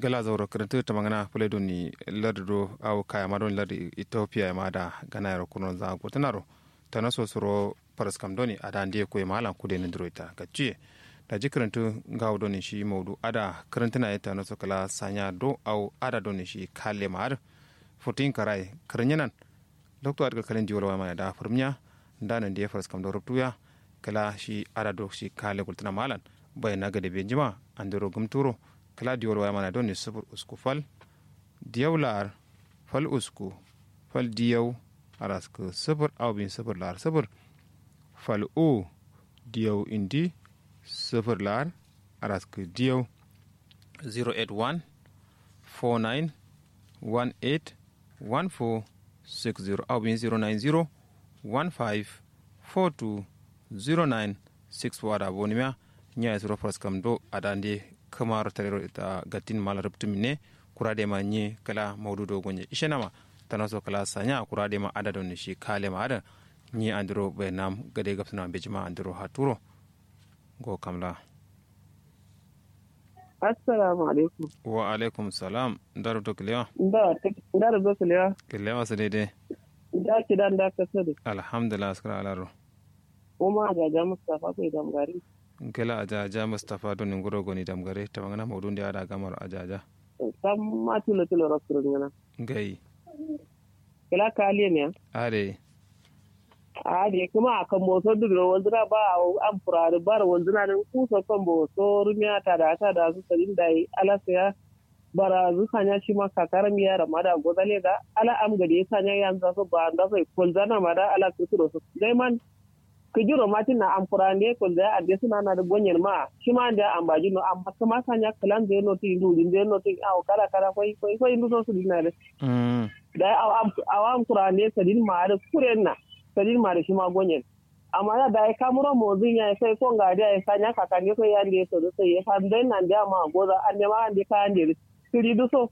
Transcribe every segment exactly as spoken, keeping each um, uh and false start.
Gla zauro kǝrǝntǝ tǝmangǝna fǝle doni lardu do awo kayama doni lardu ethiopia ye ma ada gana yero kurnonza gultǝnaro. Tanaso suro faraskam doni ada ndiye koye ma alan kude nǝndiro ita gaccuye. Daji kǝrǝntǝ ngawo doni shi maudu ada kǝrǝntǝna ye tanaso kǝla sanya do awo ada doni shi kalle ma adǝ. Futuyin karaye kǝrǝnyenan. Loktu adǝ kalkalin diwol waya mana da fǝrmiya. Nda nandi ye faraskam do rubtuya. Kǝla shi ada do shi kalle gultǝna ma alan. Baina gade benjima andiro gumturo. Kǝla diwol waya mana doni sufur usku fal. Diyau la'ar fal usku fal diyau araskǝ sǝfǝr awo bin sǝfǝr la'ar sǝfǝr. Fal u diyau indi sǝfǝr la'ar araskǝ diyau. Zero eight one four nine one eight one four six zero awo bin zero nine zero one five four two zero nine six four ada bonimiya. Nya ye suro faraskam do ada nde kǝmaro tarero ita gattin mala rubtumin ne. Kura dema nyi kǝla maudu do gonye ishenama. Tanaso kǝla sanya kura dema ada doni shi kalema ada. Nyi andiro bainam gade gabsǝna bejima andiro haturo. Ngo kamla. Assalamu alaikum. Wa alaikum salam. Nda rubto kǝlewa? Nda rubto kǝlewa? Kǝlewa sǝ daidai. Nda kida nda kasadu? Alhamdulillah askǝra alaro. Uma ajaja mustapha bai damgari. Nkela ajaja mustapha doni nguro goni damgare tamangana maudun de ada gamaro ajaja. Samma tilo tilo rokkurin ngana. Ngai. Kela kaliye ne? Are. Are kuma akan boso dugro wazira ba. Am furari bar wazina din kuso kan boso rumiya tada tada su sadin dai alasiya. Bara zu sanya shima kakara miya ramada gozale da ala am gade sanya yanza so ba anda so kolzana mada ala kusuro so. Dai man. Kǝjiro matin na amfurande kolzai ande sǝna nadǝ gonyen ma shima ande ambajin no amma kǝma sanya kǝlanzai notu indi wujinzai notu awo kala kala koi koi koi nduso sǝdin nadǝ. Dai awo amfurande sǝdin ma adǝ kuren na sǝdin ma adǝ shima gonyen. Amma na dai kamuro mozin yayi sai ko ngade yayi sanya kakande so yande sodǝ sai ye fanzain nande amma goza ande ma ande kayande dǝ. Kǝri dǝ so.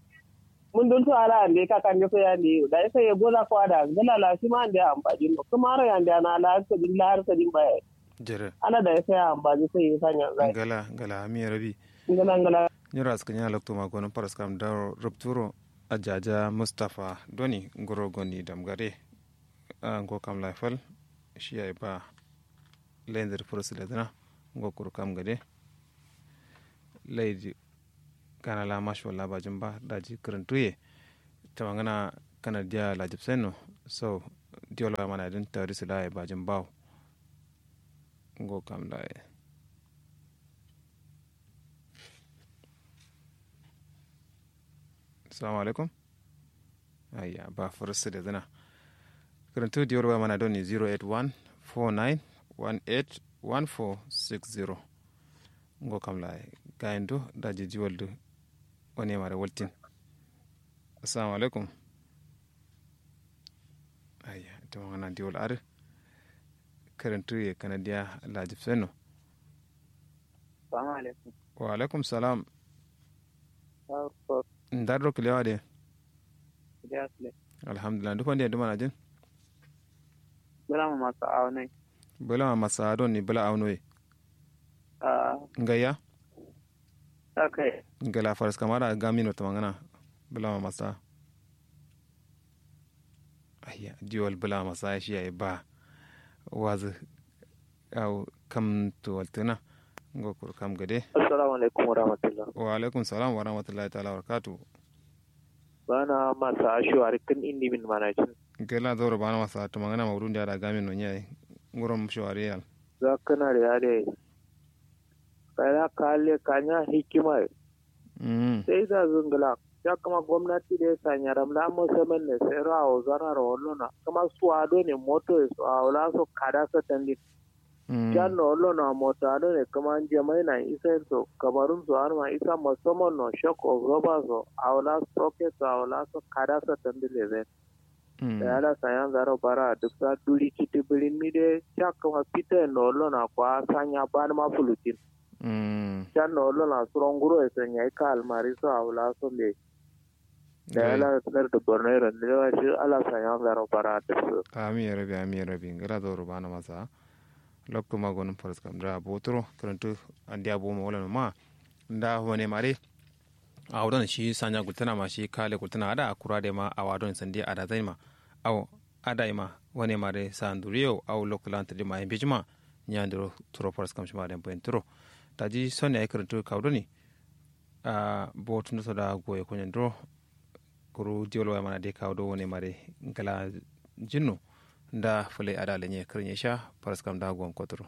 Mundun so ala ande kakande so yande yo dai sai ye goza ko ada ngala la shima ande ambajin no kǝmaro yande ana la sǝdin la har sǝdin ba yayi. Jere. Ala da ya saya ambaji sai ya sanya zai. Ngala ngala amiya rabi. Ngala ngala. Nyiro askanya lokto ma gonon paras kam daro rupturo. Ajaja mustapha doni nguro goni damgare. Ngo kam laifal. Shi yayi ba. Lendir furus ledina. Ngo kuru kam gade. Laidi. Gana la masho la bajin ba daji kǝrǝntuye. Tamangana kana diya lajib sai no. So diyo la mana din tawari sila yayi bajin bawo. Ngo kam laye. Assalamu alaikum. Ayya ba furus da zina. Kǝrǝntu diyo la mana doni zero eight one four nine one eight one four six zero. Ngo kam laye. Gayin do daji diwol do. Wane mare waltin. Assalamu alaikum. Ayya ita ma ngana diwol adǝ. Kǝrǝntu ye kanadiya lajib sai no. Assalamu alaikum. Wa alaikum salam. Ndar do kǝlewa de. Alhamdulillah ndu fande ndu manajin. Bǝla ma masa awo noi. Bǝla ma masa awo doni bǝla awo noi. Ngaiya. Ngala faras kamara gamino tamangana. Bǝla ma masa. Ayya diwal bǝla ma masa shi yayi ba. Wazǝ. Awo kam tuwaltǝna. Ngo kuru kam gade. Assalamu alaikum warahmatullah. Wa alaikum salam warahmatullahi taala wabarakatu. Bana masa shuwari kǝn indi min manajin. Ngala zauro bana masa tamangana maudun da ada gamin no nyayi. Ngurum shuwari yal. Zakkǝna da yade. Kaina kalle kanya hikima ye. Sai da zǝngǝla. Ca kǝma gomnati dǝ ye sanya ramla musamman ne sai ro awo zanaro wallona kǝma suwa done moto ye so awo la so kada satandin. Can no wallona moto a done kǝma njamai na isa ye so kamarun so adǝma isa musamman no shok ozoba so awo la soke so awo la so kada satandi lezen. Dayi ala sayan zaro bara duksa duri citi birin mi de. Ca kǝma fita ye no wallona kwa sanya banǝma fulutin. Can no wallona suro nguro ye so nyayi ka almari so awo la so mbeyi. Dayi ala lardu borno ye ro ndewa shi ala sayan zaro bara duksu. Amin ya rabi amin ya rabi ngala zauro bana masa. Loktu ma gonum faras kam da boturo kǝrǝntu. Andiya boma wallano ma. Nda wane mare. Awo don shi sanya gultana ma shi kale gultana ada kura de ma awa don sandi ada zai ma. Awo ada ima wane ma de sa nduriyo awo lokto lan tadi ma yin bijima. Nya ndiro turo faras kam shima de boyin turo. Taji son ya kirintu kawo doni. A bo tun so da goye kunyan duro. Kuru diwol waya mana de kawo do wane ma de ngala jinnu. Nda fule ada lenye kirinye sha faras kam da gon koturo.